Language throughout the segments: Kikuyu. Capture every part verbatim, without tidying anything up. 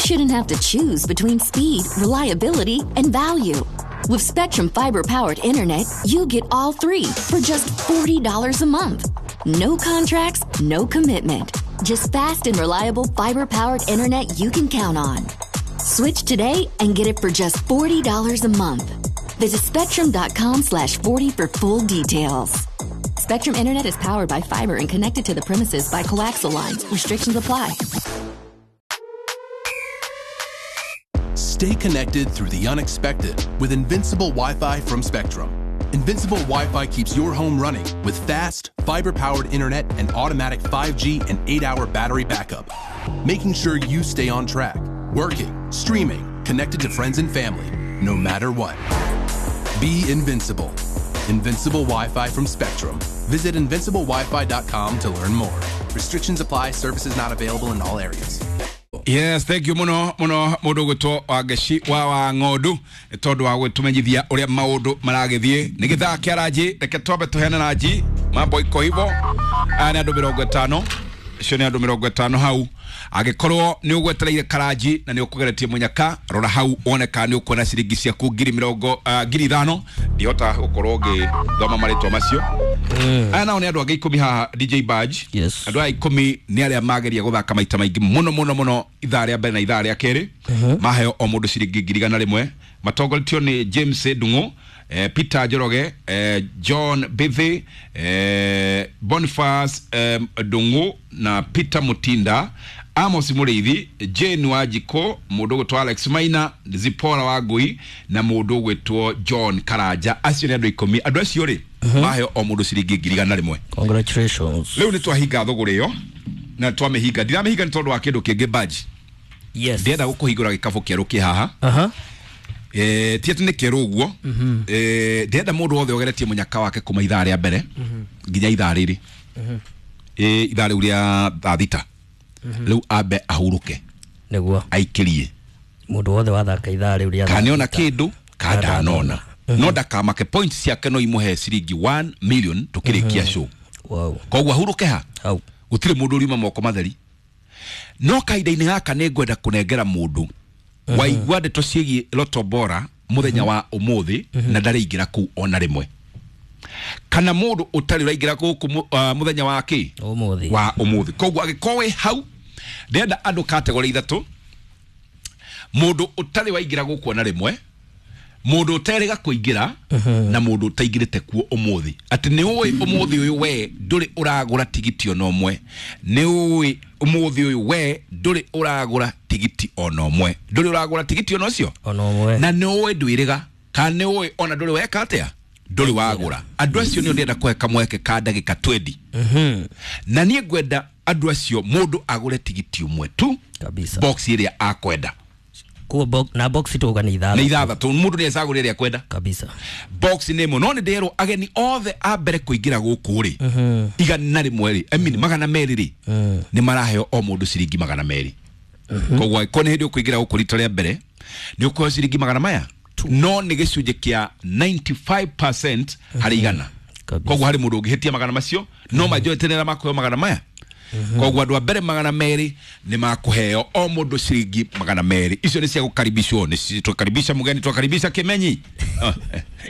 shouldn't have to choose between speed, reliability, and value. With Spectrum fiber-powered internet, you get all three for just forty dollars a month. No contracts, no commitment. Just fast and reliable fiber-powered internet you can count on. Switch today and get it for just forty dollars a month. Visit spectrum dot com slash forty for full details. Spectrum Internet is powered by fiber and connected to the premises by coaxial lines. Restrictions apply. Stay connected through the unexpected with Invincible Wi-Fi from Spectrum. Invincible Wi-Fi keeps your home running with fast, fiber-powered internet and automatic five G and eight-hour battery backup, making sure you stay on track, working, streaming, connected to friends and family, no matter what. Be invincible. Invincible Wi-Fi from Spectrum. Visit invincible wi fi dot com to learn more. Restrictions apply. Services not available in all areas. Yes, thank you muno muno mundu gwitwo Wangeci wa wa Ng'ondu nĩ tondũ wa gwĩtũmenyithia ũrĩa maũndũ maragĩthiĩ. Nĩ gĩthaa kĩa ranji, reke twambe tũheane ranji. Mambo iko hivo. Aya nĩ andũ mĩrongo ĩtano, icio nĩ andũ mĩrongo ĩtano hau. Angĩkorwo nĩ ũgwetereire karanji na nĩ ũkũgeretie mũnyaka, rora hau wone kana nĩ ũkuona ciringi ciaku ngiri mĩrongo ah, ngiri ithano. Ndihota gũkorwo ngĩthoma marĩtwa macio. Aya nao nĩ andũ angĩ ikũmi haha, D J Badge. Yes. Andũ aya ikũmi nĩ arĩa mageria gũthaka maita maingĩ mũno mũno mũno ithaa rĩa mbere na ithaa rĩa kerĩ. Maheo o mũndũ ciringi ngiri igana rĩmwe. Matongoretio nĩ James Ndung'u, eh, Peter Njoroge, eh, John Bithi, eh, Boniface eh, Ndung'u na Peter Mutinda, Amos Mũrĩithi, Jane Wanjikũ, mũndũ ũgwĩtwo Alex Maina, Zipora wa Ngui na mũndũ ũgwĩtwo John Karanja. Acio nĩ andũ ikũmi. Andũ acio rĩ, maheo o mũndũ ciringi ngiri igana rĩmwe. Congratulations. Rĩu nĩ twahinga thũgũrĩ ĩyo na twamĩhinga. Ndiramĩhinga nĩ tondũ wa kĩndũ kĩngĩ baji. Yes. Ndĩrenda gũkũhingũra gĩkabũ kĩerũ kĩ haha. Aha. Eh, ti atĩ nĩ kĩerũ ũguo. Eh, ndĩrenda mũndũ wothe ũgeretie mũnyaka wake kuma ithaa rĩa mbere nginya ithaa rĩrĩ, Eh, ithaa rĩu rĩa thaa thita rĩu, ambe ahurũke. Nĩguo. Aikĩrie. Mũndũ wothe wathaka ithaa rĩu rĩa kana nĩona thaa sita. Kĩndũ kana ndanona, no ndakamake, points ciake no imũhe ciringi one million tũkĩrĩkia show. Wow. Koguo ahurũke ha. Hau. Gũtirĩ mũndũ ũriuma moko matheri, no kahinda-inĩ gaka nĩ ngwenda kũnengera mũndũ waigua ndeto ciĩgiĩ Loto Bora mũthenya wa ũmũthĩ na ndarĩingĩra kũu ona rĩmwe, kana mũndũ ũtarĩ ũraingĩra gũkũ mũ- ah, mũthenya wa kĩ? Ũmũthĩ. Wa ũmũthĩ. Koguo angĩkorwo wĩ hau, ndĩrenda andũ category ithatũ: mũndũ ũtarĩ waingĩra gũkũ ona rĩmwe, mũndũ ũterĩga kũingĩra, na mũndũ ũtaingĩrĩte kuo ũmũthĩ, atĩ nĩ ũĩ ũmũthĩ ũyũ we ndũrĩ ũragũra tigiti ona ũmwe. Nĩ ũĩ ũmũthĩ ũyũ we ndũrĩ ũragũra tigiti ona ũmwe, ndũrĩ ũragũra tigiti ona ũcio. Ona ũmwe. Na nĩ ũĩ ndwĩrĩga, kana nĩ ũĩ ona ndũrĩ weka atĩa, ndũrĩ wagũra. Andũ acio nĩo ndĩrenda kũhe kamweke ka ndagĩka twendi, na niĩ ngwenda andũ acio mũndũ agũre tigiti ũmwe tu. Kabisa. Box ĩrĩa akwenda. Kuo box na box tuga nĩ nĩ ithathatũ. Ithathatũ, mũndũ nĩ ecagũra ĩrĩa akwenda. Kabisa. Box nĩ ĩmwe, no nĩ ndĩrwo ageni othe a mbere kũingĩra gũkũ rĩ, igana rĩmwe rĩ, I mean, magana merĩ rĩ, nĩ maraheo o mũndũ ciringi magana merĩ. Koguo angĩkorwo nĩ hĩndĩ ũkũingĩra gũkũ rita rĩa mbere, nĩ ũkũheo ciringi magana maya, no nĩ gĩcunjĩ kĩa mĩrongo kenda na ithano harĩ igana. Kabisa. Koguo harĩ mũndũ ũngĩhĩtia magana macio, no majority nĩ arĩa makũheo magana maya. Koguo andũ a mbere magana merĩ nĩ makũheo o mũndũ ciringi magana merĩ. Icio nĩ cia gũkaribishwo, nĩ twakaribisha mũgeni, twakaribisha Kĩmenyi.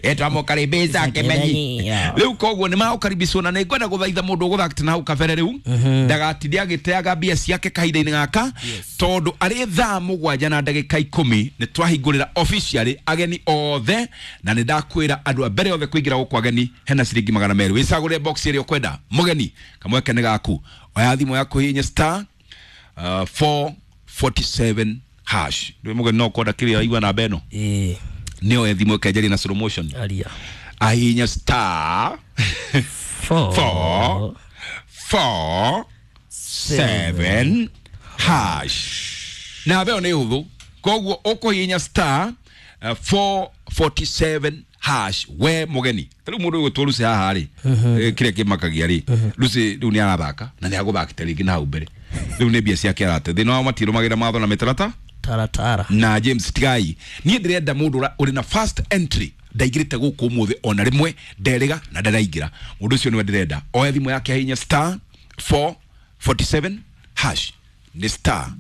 Eh, twamũkaribisha Kĩmenyi. Kĩmenyi, yeah. Rĩu koguo nĩ magũkaribishwo, na nĩ ngwenda gũthaitha mũndũ ũgũthakĩte na hau kabere rĩu ndagatinde agĩteaga mbia ciake kahinda-inĩ gaka, tondũ arĩ thaa mũgwanja na ndagĩka ikũmi nĩ twahingũrĩra officially ageni othe, na nĩ ndakwĩra andũ a mbere othe kũingĩra gũkũ ageni hena ciringi magana merĩ. Wĩcagũre box ĩrĩa ũkwenda. Mũgeni, kamweke nĩ gaku. Oya thimũ yaku, hihinya star uh, four forty-seven hash. Ndĩ mũgeni, no kwenda kĩrĩa waigua namba ĩno. Ĩĩ. Nĩoe thimũ ĩkenjeria na slow motion. Aria. Ahihinya star Four. four four seven hash. Namba ĩyo nĩ hũthũ, koguo ũkũhihinya star uh, four forty-seven hash. We mũgeni, ta rĩu mũndũ ũgwĩtwo Lucy haha rĩ, eh, kĩrĩa kĩmakagia rĩ, Lucy rĩu nĩ arathaka na nĩ agũthakĩte rĩngĩ na hau mbere. Rĩu nĩ mbia ciake arate. Thĩna wao matirũmagĩrĩra mawatho na mĩtaratara. Taratara. Na James Tigai, niĩ ndĩrenda mũndũ ũra- ũrĩ na first entry, ndaingĩrĩte gũkũ ũmũthĩ ona rĩmwe, nderĩga na ndaraingĩra. Mũndũ ũcio nĩwe ndĩrenda oe thimũ yake ahihinye star four forty-seven hash. Nĩ star